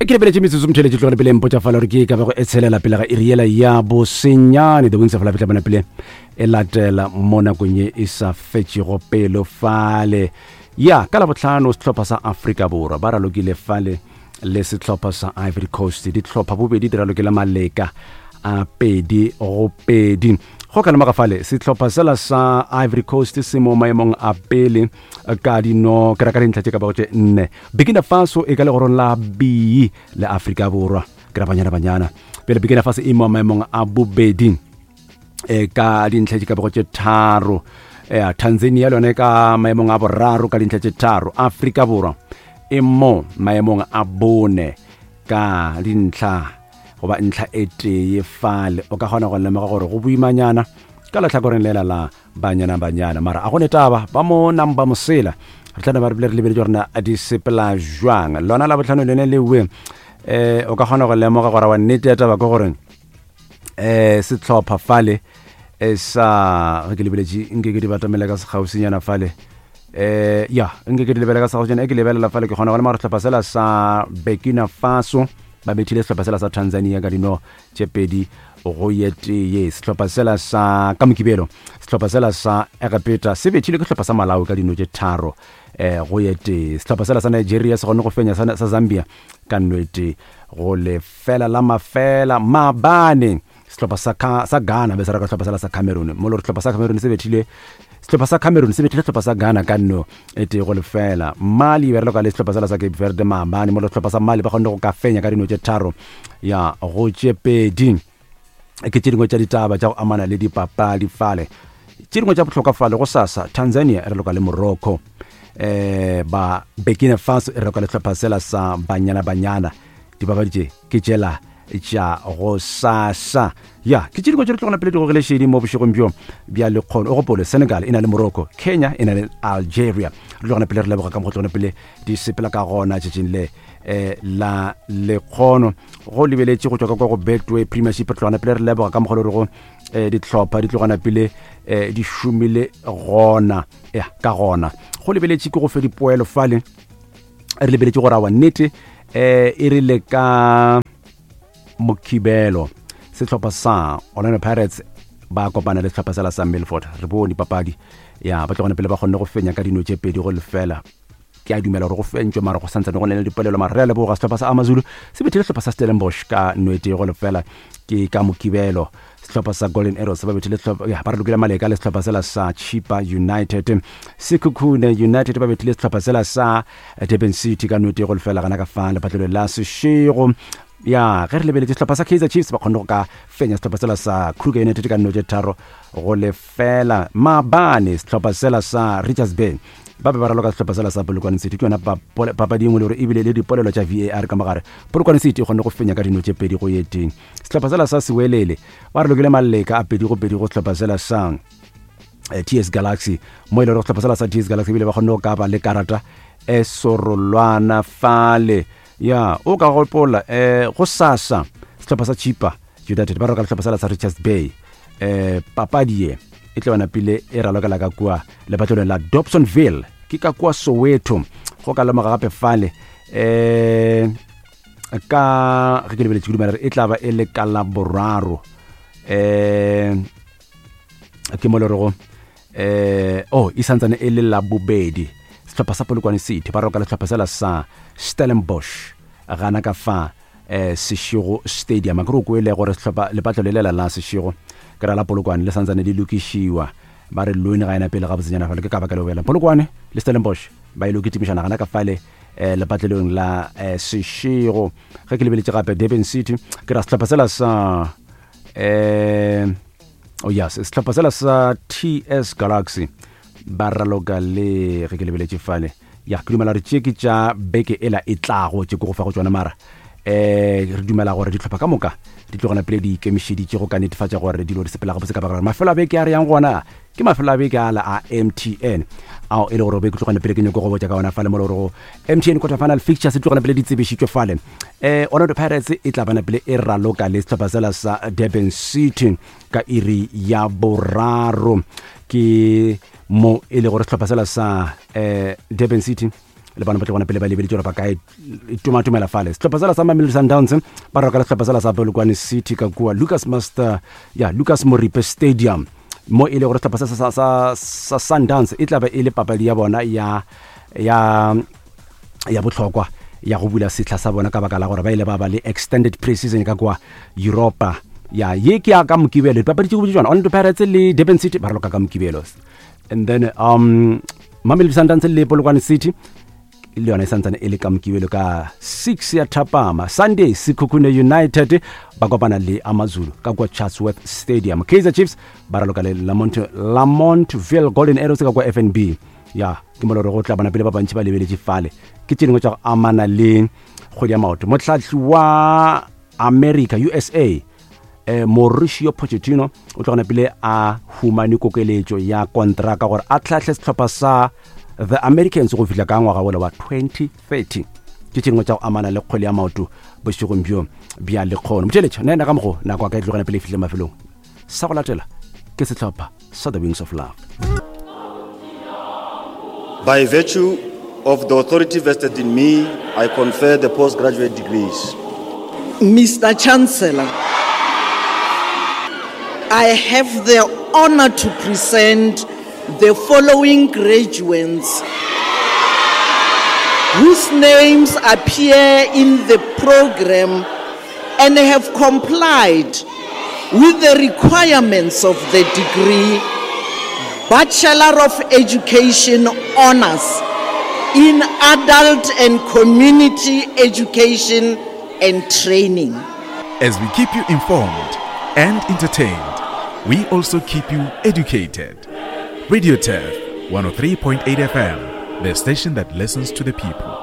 Ke lebeletše metsotso motheletše tlogele pele mpotša fala gore ke ka bego e tshelela pele ga iri yela ya bosenyane. The Wings of Life tla bona pele e latela mo nakong ye e sa fetšego pelo fale. Ya ka Labohlano sehlopha sa Afrika Borwa ba ralokile fale le sehlopha sa Ivory Coast. Dihlopha bobedi di ralokile maleka a 2-2. Go ka lemoga fale sehlopha sela sa Ivory Coast se mo maemong a pele ka dino ke ra ka dintlha tše ka bago tše nne. Burkina Faso e ka legorong la B le Afrika Borwa ke ra Banyana Banyana. Pele Burkina Faso e mo maemong a bobedi e ka dintlha tše ka bago tše tharo. Ya Tanzania le yone ka maemong a boraro ka dintlha tše tharo. Afrika Borwa e mo maemong a bone ka dintlha goba ntlha e tee fale. O ka kgona go lemoga gore go boimanyana ka lehlakoreng lela la Banyana Banyana, mara a go ne taba ba mo namba mosela. Re tla ba re bile re lebeletše gore na di sepela jwang. Lona la botlhano lone lewe eh o ka kgona go lemoga gore wa nnete ya taba ke gore eh sehlopha fale e sa ge ke lebeletše nke ke di batamela ka sekgausinyana fale eh ya nke ke di lebela ka sekgausinyana e ke lebelela fale ke kgona go lemoga gore sehlopha sela sa Burkina Faso ba bethile sehlopha sela sa Tanzania ka dino tše pedi go ye tee. Sehlopha sela sa ka Mokibelo, sehlopha sela sa Egepeta se bethile ke sehlopha sa Malawi ka dino tše tharo eh, go ye tee. Sehlopha sela sa Nigeria se kgonne go fenya sa, sa Zambia ka nno e tee go lefela la mafela. Maabane sehlopha sa, sa Ghana be se raka sehlopha sela sa Cameroon, mo le gore sehlopha sa Cameroon se bethile sehlopha sa Cameroon se bethile sehlopha sa Ghana ka nno e tee go lefela. Mali e bereka le sehlopha sela sa Cape Verde maabane, mo le sehlopha sa Mali ba kgonne go ka fenya ka dino tše tharo ya go tše pedi. Ke tše dingwe tša ditaba tša go amana le dipapadi fale. Tše dingwe tša bohlokwa fale go sasa, Tanzania e raloka le Morocco, eh ba Burkina Faso e raloka le sehlopha sela sa Banyana Banyana. Dipapadi tše ke tšela tša go sasa. Ya, ke tše dingwe tše re tlogela pele di gogele šedi mo bošegong bjo bja lekgono. O gopole, Senegal e na le Morocco, Kenya e na le Algeria. Re tlogela pele re leboga ka mokgwa tlogela pele di sepela ka gona tšatšing le eh, la lekgono. Go lebeletše go tšwa ka kwa go Betway Premiership, re tlogela pele re leboga ka mokgwa le rego eh, dihlopha di tlogana pele eh, di šomile gona ya ka gona. Go lebeletše ke go fe dipoelo fale, re lebeletše gore awa nnete eh e rile ka Mokibelo sehlopha sa Orlando Pirates ba kopana le sehlopha sela sa Milford. Re bone papadi ya ba tlogane pele ba kgonne go fenya ka dino tše 2-0. Ke a dumela gore go fentšwe mara go santsane go ne le dipolelo, mara re a leboga. Sehlopha sa Amazulu se bethile sehlopha sa Stellenbosch ka 1-0 ke ka Mokibelo. Sehlopha sa Golden Arrows ba bethile sehlopha ya ba re lokile maleka le sehlopha sela sa Chippa United. Sekhukhune United ba bethile sehlopha sela sa Durban City ka 1-0 gana ka fa lepatlelo la Seshego. Ya ge re lebeletše sehlopha sa Kaizer Chiefs ba kgonne go ka fenya sehlopha sela sa Kruger United ka 3-0. Maabane sehlopha sela sa Richards Bay ba be ba raloka sehlopha sela sa Polokwane City. Ke yona papadi engwe le gore ebile le dipolelo tša VAR ka mogare. Polokwane City e kgonne go fenya ka dino tše 2-1. Sehlopha sela sa Sewelele ba re lokile maleka a 2-2 go sehlopha sela sa eh, TS Galaxy, mo e le gore sehlopha sela sa TS Galaxy ebile ba kgonne go ka ba le karata e sorolwana fale. Ya o ka gopola eh go sasa sehlopha sa Chippa United ba roka sehlopha sela sa Richards Bay. Eh papadi ye e tla bana pele e ralokela ka kua lepatlelong la Dobsonville, ke ka kua Soweto. Go ka lemoga gape fale eh ka ge ke lebeletše ke dumela e tla ba e le ka la boraro eh ke mo le rego eh oh e santsane e le la bobedi sehlopha sa Polokwane City ba roka le sehlopha sela sa Stellenbosch gana ka fa eh Seshego Stadium. Ke re o kwele gore sehlopha lepatlo le lela la Seshego ke ra la Polokwane le santsane le lokišiwa, ba re loan ga ena pele ga botsenyana fale, ke ka baka leo bjale Polokwane le Stellenbosch ba ile kitimišana gana ka fale eh, lepatlelong la eh, Seshego. Ge ke lebeletše gape Durban City ke ra sehlopha sela sa eh oh yes sehlopha sela sa TS Galaxy ba raloka le ge ke lebeletše fale ya ke dumela gore tše ke tša beke ela e tlago tše ke go fa go tšona, mara eh re dumela gore dihlopha ka moka di tlogela pele di ikemišeditše go ka netefatša gore dilo di sepela gabotse, ka baka la gore mafelo a beke a re yang gona ke mafelo a beke ala a MTN ao e le gore be ke tlogela pele ke nyoko go botša ka ona fale mo le gore go MTN quarter final fixtures di tlogela pele di tsebišitšwe fale. Eh Orlando Pirates e tla bana pele e raloka le sehlopha sela sa Durban City ka iri ya boraro, ke mo e le gore sehlopha sela sa eh Durban City Le bona ba tlo bona pele ba lebeletše gore ba ka itumatumela fale. Sehlopha sela sa Mamelodi Sundowns ba roka le sehlopha sela sa Polokwane City ka kua Lucas Master ya Lucas Moripe Stadium, mo e le gore sehlopha sa, sa, sa, sa Sundowns e tla be e le papadi ya bona ya ya ya bohlokwa ya go bula sehla sa bona, ka baka la gore ba ile ba ba le extended pre-season ka kwa Europa. Ya ye ke ya ka Mokibelo, dipapadi tše go tsona Orlando Pirates le Durban City ba raloka ka Mokibelo, and then Mamelodi Sundowns le Polokwane City le yona e santsane e le ka Mokibelo ka 6 ya thapama. Sunday, Sekhukhune United ba kopana le Amazulu ka kwa Chatsworth Stadium. Kaizer Chiefs ba raloka le Lamontville Golden Arrows ka kwa FNB. Ya ke mo gore go tla bona pele ba bantši ba lebeletše fale. Ke tše dingwe tša go amana le kgwedi ya maoto. Motlhatli wa America, USA, Mauricio Pochettino o tlo gona pele a humane kokeletšo ya kontraka gore a tlhahle sehlopha sa the Americans go fihla ka ngwaga wola wa 2030. Ke tše dingwe tša go amana le kgwele ya maoto bošegong bjo bja lekgono. Motšheletšo nna ena ka mogo nako a ka e tlogela pele e fihle mafelong. Sa go latela ke sehlopha sa The Wings of Love. By virtue of the authority vested in me, I confer the postgraduate degrees. Mr. Chancellor, I have the honor to present the following graduates whose names appear in the program and have complied with the requirements of the degree Bachelor of Education Honors in Adult and Community Education and Training. As we keep you informed and entertained, we also keep you educated. Radio Turf 103.8 FM, the station that listens to the people.